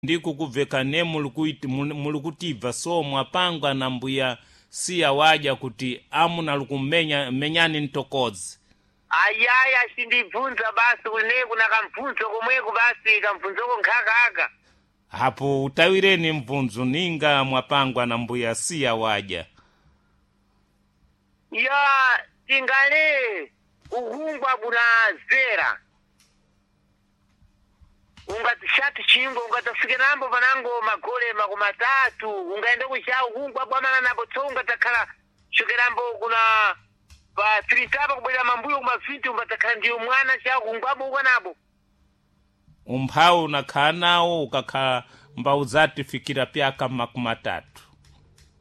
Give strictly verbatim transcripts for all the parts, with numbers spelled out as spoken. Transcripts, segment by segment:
Ndiko kubveka muli kutibva so mwapangwa na mbuya siya waja kuti amuna likumenya menyani mtokodzi. Ayaya, sindibvunza basi kune kuna kamubvunzo komweko basi, kamubvunzoko nkhakaka. Hapo utawireni mvunzo ninga mwapangwa na mbuya siya waja. Ya tingale ukungwa buna zera, ungatishati chimbo ungatafike nambo panango magole makumi atatu, ungaenda kucha ukungwa bwamana napo tso ungatakhala chokerambo kuna pa tritapa kubwera mambuyo kumafiti, ungatakhala ndiyo mwana cha ukungwabo ukanabo. Umphawi unakhala nawo ukakhala mbaudzatifikira pyaka makumi atatu.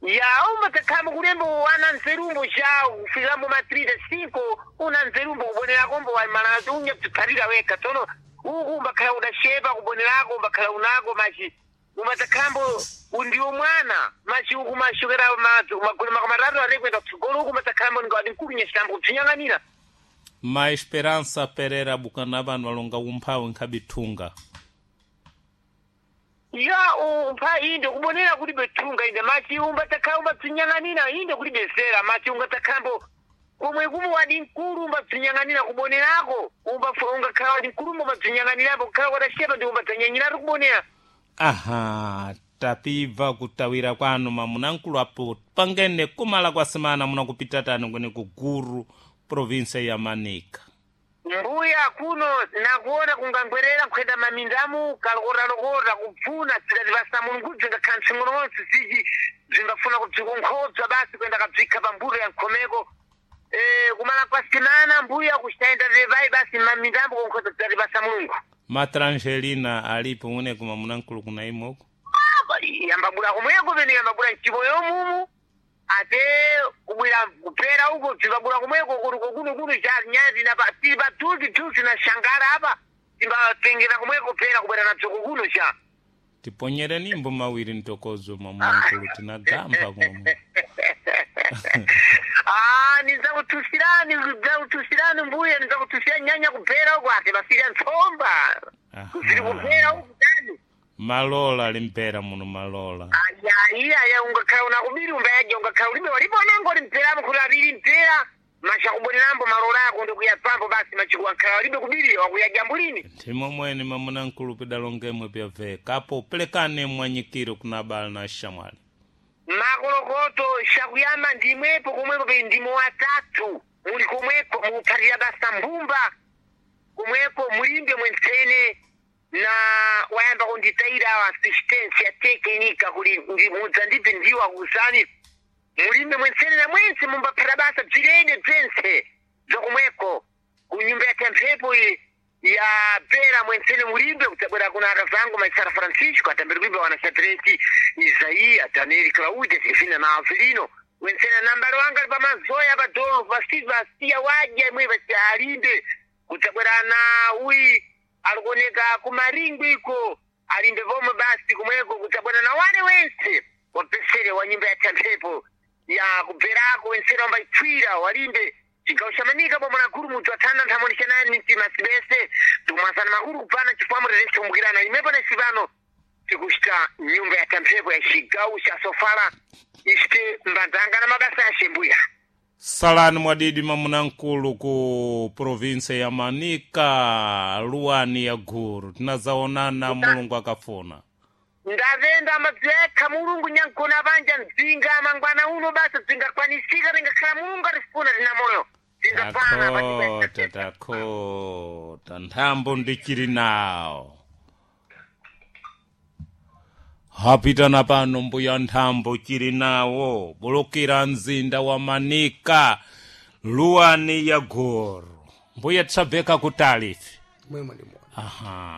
Ya, umbatakhala kulembo wana nzerumbo cha kufikambo ma trita cinco, una nzerumbo kubonerako waimala unya kuphalira wekha. Tsono uku umbakhala udashepa kubonerako, umbakhala unako machi umatakhambo undiwo mwana machi uku mashokera magole makumi atatu ate kuenda kutsogolo, uku umatakhambo ngati mkulu nyachitambo kubzinyang'anira. Ma Esperança Pereira bukana vanhu valonga umphawi nkhabithunga. Ya, umpha inde kubonera kuti bethunga inde machi umbatakhala umbabzinyang'anira inde kuti bezera machi ungatakhambo komwe kumwe wadi mkulu umbabzinyang'anira kubonerako, ungakhala wadi mkulu umbabzinyang'anirapo kukhala wadashepa ndi umbadzanyanyiratu kubonera. Aha, tapibva kutawira kwanu mamunankulu apo pangene kumala kwa semana munakupita tani kwene ku Guru, provinsia ya Manica. Mbuya kuno nakuona kungangwerera nkhwenda mamindamu kalokotalokota kupfuna zikati basa Mulungu zingakhala mtsing'onomonse ziji zingafuna kubzikonkhobza basi kwenda kabzikha pambuto ya nkhomeko. Eh, kumala kwa semana mbuya kuxayenda tepayi basi mamindambo konkhodza zikati basa Mulungu. Matrangelina alipo mwene kuma munankulu kuna imoko? Yambabula komweko pene yambabula mchipoyo mumu ate kubwera kupera uko bzimbabula komweko kuti kuno kuno cha nyazi na tili patuzi tuzi na shangara apa timbatengera komweko pera kubwera nabzo kukuno cha. Tiponyere nimbo mawiri mtokozo mamunankulu tinagamba komwe. Ah, nidzakutusirani, nidzakutusirani mbuya, nidzakutusira nyanya kupera uko ate basirya ntsomba kusiri kupera uku tani. Malola limpera muno malola. Aya, iya, ungakhala unakubiri umbayaja ungakhala ulibe waliponango limperamo kuti aviri mpera machakubonerambo malola ako ndikuyapambo basi machikuwankhala walibe kubiri wakuyaja mbulini. Nthimo mwene mamunankulu pidalongemwe pyaveka apo pelekane mwanyikiro kuna abale na shamwali. Makolokoto shakuyamba ndimwepo komweko pe ndimo watatu muli komweko mukuphatira basa mbumba komweko mulimbe mwentsene na wayamba kunditayira assistance ya tekinika kuli mudza ndibve ndiwo akusani mulimbe mwentsene na mwense mumbaphata basa bzirene bzense bzakomweko kunyumba ya temphepo iyi ya pera mwentsene mulimbe kudzabwera kuna akazangu maisara Francisco atambiri kuimba wana Shadraki Isaia Daniel Claudia Sefina na Avelino mwentsene nambalo wanga ali pamazoya padolo pasiva siya wadya imwe pasi alimbe kudzabwera na uyi alikuoneka kumaringwi iko alimbe pomwe basi kumweko kudzabwera na wane wense wapesere wa nyumba ya temphepo ya kubverako wensere wambaitswira walimbe chigawo cha Manika bomwe na guru mudzi wathana nthamoni chanani mtima sibese tikumwasana makulu kupana chifukwa mureresi kumbukirana imepo na isipano tikuchita nyumba ya tamphepo ya chigawo cha Sofala isite mbandzanga na mabasa ya Shembuya. Salani mwadidi mamunankulu ku provinsia ya Manica, luwani ya Guru, tinazaonana Mulungu akafuna. Ndavenda madzekha Mulungu nyankona panja mdzinga mangwana uno basi dzingakwanisika tingakhala Mulungu atifuna tina moyo dzingapana. Takhota, takhota nthambo ndichili nawo hapitana pano mbuya nthambo chili nawo bulukira mzinda wa Manika, luwani ya Guru, mbuya tisabveka kutali ife. Mwemwe ndimona. Aha.